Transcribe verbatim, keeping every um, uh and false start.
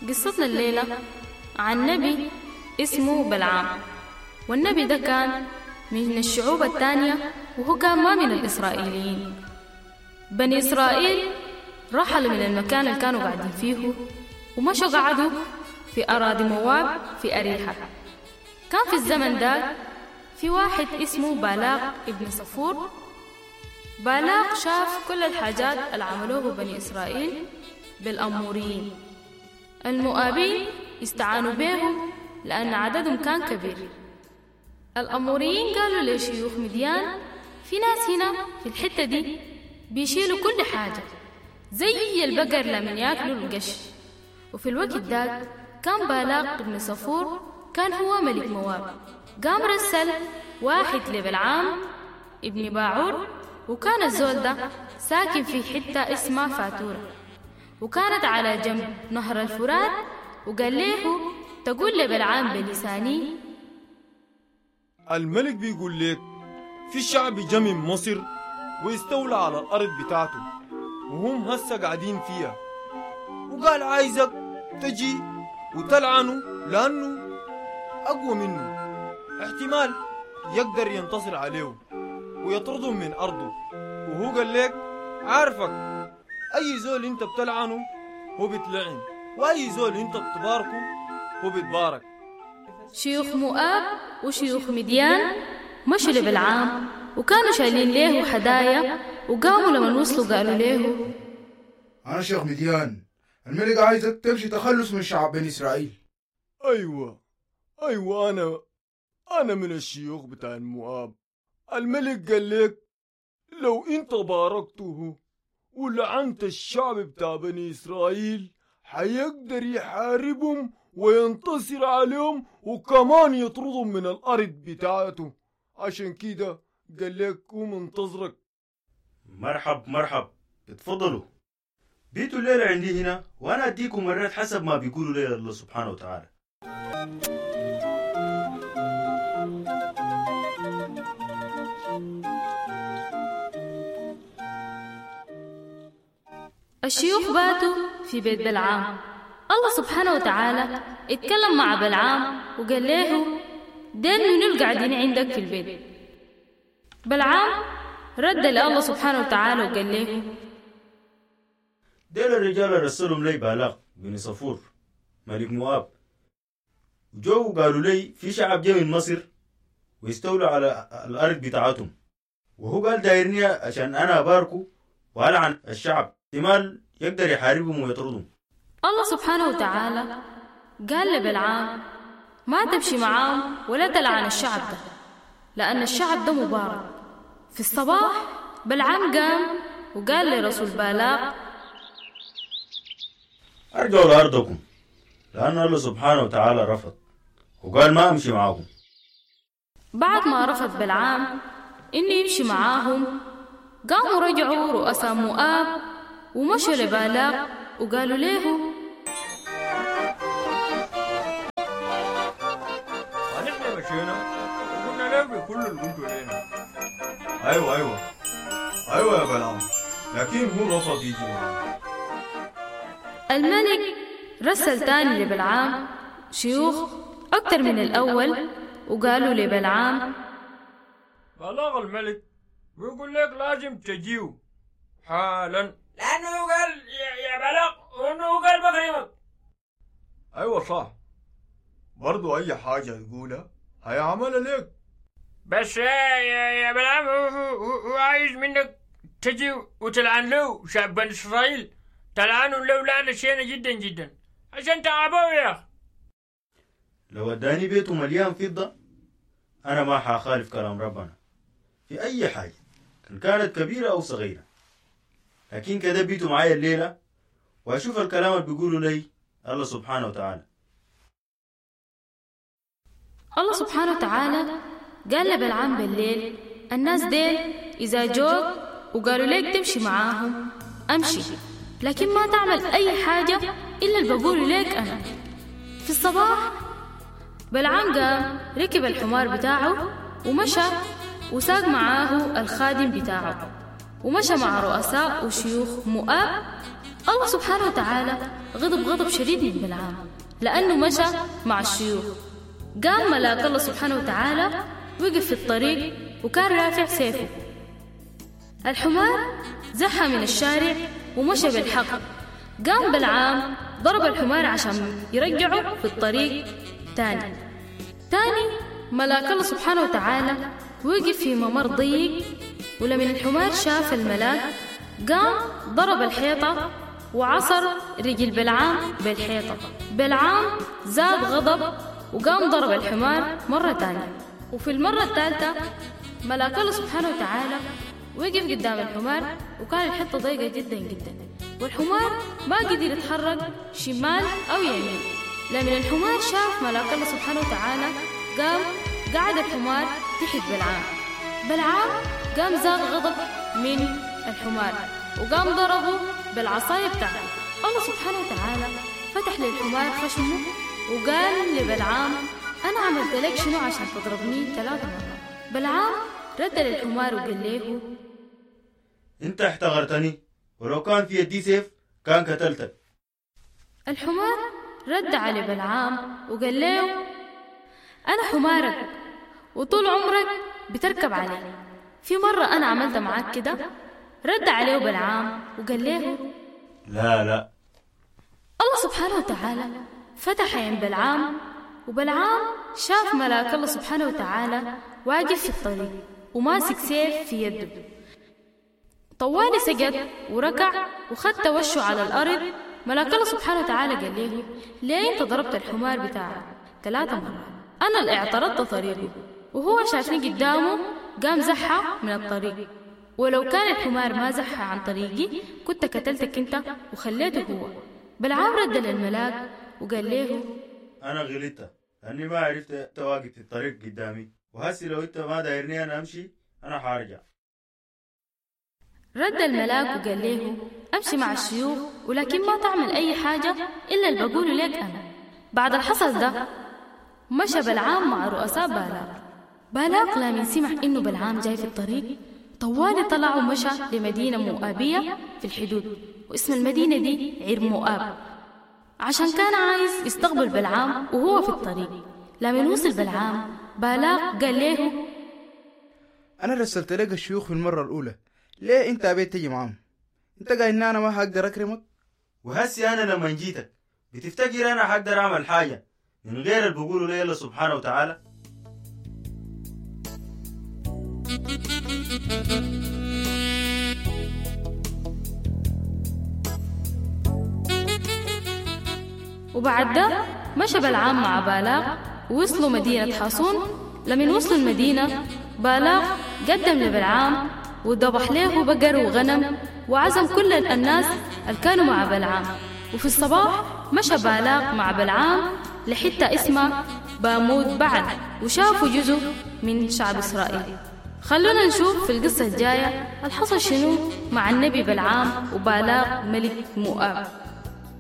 قصتنا الليلة عن نبي اسمه بلعام، والنبي ده كان من الشعوب التانية وهو كان ما من الإسرائيليين. بني إسرائيل رحلوا من المكان اللي كانوا قاعدين فيه ومشوا قعدوا في أراضي مواب في أريحة. كان في الزمن ده في واحد اسمه بالاق ابن صفور. بالاق شاف كل الحاجات اللي عملوه بني إسرائيل بالأموريين. المؤابين استعانوا بهم لأن عددهم كان كبير. الأموريين قالوا لشيوخ مديان: في ناس هنا في الحتة دي بيشيلوا كل حاجة زي البقر لمن ياكلوا القش. وفي الوقت ده كان بالاق بن صفور كان هو ملك مواب. قام رسل واحد لبلعام ابن باعور، وكان الزول ده ساكن في حتة اسمها فاتورة، وكانت على جنب نهر الفرات، وقال له: تقول لبلعام بلساني الملك بيقول لك في شعب جا من مصر واستولى على الأرض بتاعته وهم هسه قاعدين فيها، وقال عايزك تجي وتلعنه لأنه أقوى منه، احتمال يقدر ينتصر عليه ويطردهم من أرضه. وهو قال لك عارفك أي زول انت بتلعنه هو بتلعن، وأي زول انت بتباركه هو بتبارك. شيوخ مؤاب وشيوخ مديان مشوا لبلعام وكانوا شايلين له هدايا، وقاموا لما وصلوا قالوا له: أنا شيخ مديان، الملك عايزك تمشي تخلص من شعب بني إسرائيل. أيوة أيوة أنا أنا من الشيوخ بتاع المؤاب. الملك قال لك لو أنت باركته ولعنت الشعب بتاع بني إسرائيل حيقدر يحاربهم وينتصر عليهم وكمان يطردهم من الأرض بتاعته. عشان كده قال لك قوم انتظرك. مرحب مرحب، اتفضلوا بيتوا الليلة عندي هنا وأنا أديكم مرات حسب ما بيقولوا لي الله سبحانه وتعالى. الشيوخ باتوا في بيت بلعام. الله سبحانه وتعالى اتكلم مع بلعام وقال له: دين منو القاعدين عندك في البيت؟ بلعام رد لله سبحانه وتعالى وقال له: ديل الرجال رسلهم لي بالاق بن صفور ملك مؤاب، وجو قالوا لي في شعب جاي من مصر ويستولوا على الأرض بتاعتهم، وهو قال دايرني عشان أنا أباركه وألعن الشعب احتمال يقدر يحاربهم ويطردهم. الله سبحانه وتعالى قال لبلعام: ما تمشي معاهم ولا تلعن الشعب ده، لأن الشعب ده مبارك. في الصباح بلعام قام وقال لرسول بالاق: أرجعوا لأرضكم، لأن الله سبحانه وتعالى رفض وقال ما أمشي معاكم. بعد ما رفض بلعام إنه يمشي معاهم، قاموا رجعوا رؤساء مؤاب ومشوا لبالاق وقالوا له: ونحن مشينا وقلنا له بكل اللي قلتوا لنا. أيوة أيوة أيوة يا بلعام، لكن هو رفض يجي معنا. الملك رسل تاني لبلعام شيوخ أكتر من الأول، وقالوا لبلعام: بلاغ الملك ويقول لك لازم تجيو حالا، لأنه قال يا بلاغ وإنه قال بكرمك. أيوة صح، برضو أي حاجة تقولها هيعملها لك. بس يا يا بلعام هو, هو عايز منك تجي وتلعن له شعب بني إسرائيل، تلعنوا له لعنة شينة جدا جدا عشان تعبوه يا أخي. لو اداني بيته مليان فضة أنا ما حخالف كلام ربنا في أي حاجة إن كانت كبيرة أو صغيرة، لكن كده بيتوا معايا الليلة وأشوف الكلام اللي بيقولوا لي الله سبحانه وتعالى. الله سبحانه وتعالى قال لبلعام بالليل: الناس ديل إذا جوك وقالوا لك تمشي معاهم أمشي، لكن ما تعمل أي حاجة إلا اللي بقوله لك أنا. في الصباح بلعام قام ركب الحمار بتاعه ومشى وساق معاه الخادم بتاعه، ومشى مع رؤساء وشيوخ مؤاب الله سبحانه وتعالى غضب غضب شديد من بلعام لأنه مشى مع الشيوخ. قام ملاك الله سبحانه وتعالى وقف في الطريق وكان رافع سيفه. الحمار زحى من الشارع ومشى بالحق. قام بلعام ضرب الحمار عشان يرجعه في الطريق تاني. تاني ملاك الله سبحانه وتعالى وقف في ممر ضيق، ولمن الحمار شاف الملاك قام ضرب الحيطة وعصر رجل بلعام بالحيطة. بلعام زاد غضب وقام ضرب الحمار مرة تانية. وفي المرة الثالثة ملاك الله سبحانه وتعالى وقف قدام الحمار، وكان الحتة ضيقة جدا جدا، والحمار ما قدر يتحرك شمال أو يمين. لمن الحمار شاف ملاك الله سبحانه وتعالى قام قعد الحمار تحت بلعام. بلعام قام زاد غضب من الحمار وقام ضربه بالعصاية بتاعته. الله سبحانه وتعالى فتح للحمار خشمه وقال لبلعام أنا عملت لك شنو عشان تضربني ثلاث مرات؟ بلعام رد للحمار وقال له انت احتقرتني، ولو كان في يدي سيف كان قتلتك. الحمار رد على بلعام وقال له أنا حمارك وطول عمرك بتركب عليه، في مرة أنا عملت معاك كده؟ رد عليه بلعام وقال له لا لا. الله سبحانه وتعالى فتح عين بلعام، وبلعام شاف ملاك الله سبحانه وتعالى واقف في الطريق وماسك سيف في يده. طوالي سجد وركع وخد وشه على الأرض. ملاك الله سبحانه وتعالى قال له ليه انت ضربت الحمار بتاعك ثلاثة مرات؟ أنا اللي اعترضت طريقه وهو شافني قدامه قام زحى من الطريق، ولو كان الحمار ما زحى عن طريقي كنت قتلتك انت وخليته هو. بلعام رد للملاك وقال له أنا غلطت لأني ما عرفت أنت واقف في الطريق قدامي، وهسي لو أنت ما دايرني أنا أمشي أنا حارجع. رد الملاك وقال له أمشي مع الشيوخ ولكن ما تعمل أي حاجة إلا اللي بقوله لك أنا. بعد الحصل ده مشى بلعام مع رؤساء بالاق. بالاق لمن سمع إنه بلعام جاي في الطريق طوالي طلع ومشى لمدينة مؤابية في الحدود، واسم المدينة دي عير مؤاب، عشان كان عايز يستقبل بلعام وهو في الطريق. لمن وصل بلعام بالاق قال له أنا رسلت لك الشيوخ في المرة الأولى، ليه أنت أبيت تجي معاهم؟ أنت قايل إن أنا ما هقدر أكرمك؟ وهسي أنا لما جيتك بتفتكر أنا هقدر أعمل حاجة من غير اللي بقوله لي الله سبحانه وتعالى؟ وبعد ده مشى بلعام مع بالاق ووصلوا مدينة حاصون. لمن وصلوا المدينة بالاق قدم لبلعام وذبح له بقر وغنم وعزم كل الناس اللي كانوا مع بلعام. وفي الصباح مشى بالاق مع بلعام لحتة اسمها باموت بعل وشافوا جزء من شعب إسرائيل. خلونا نشوف في القصة الجاية الحصل شنو مع النبي بلعام وبالاق ملك مؤاب.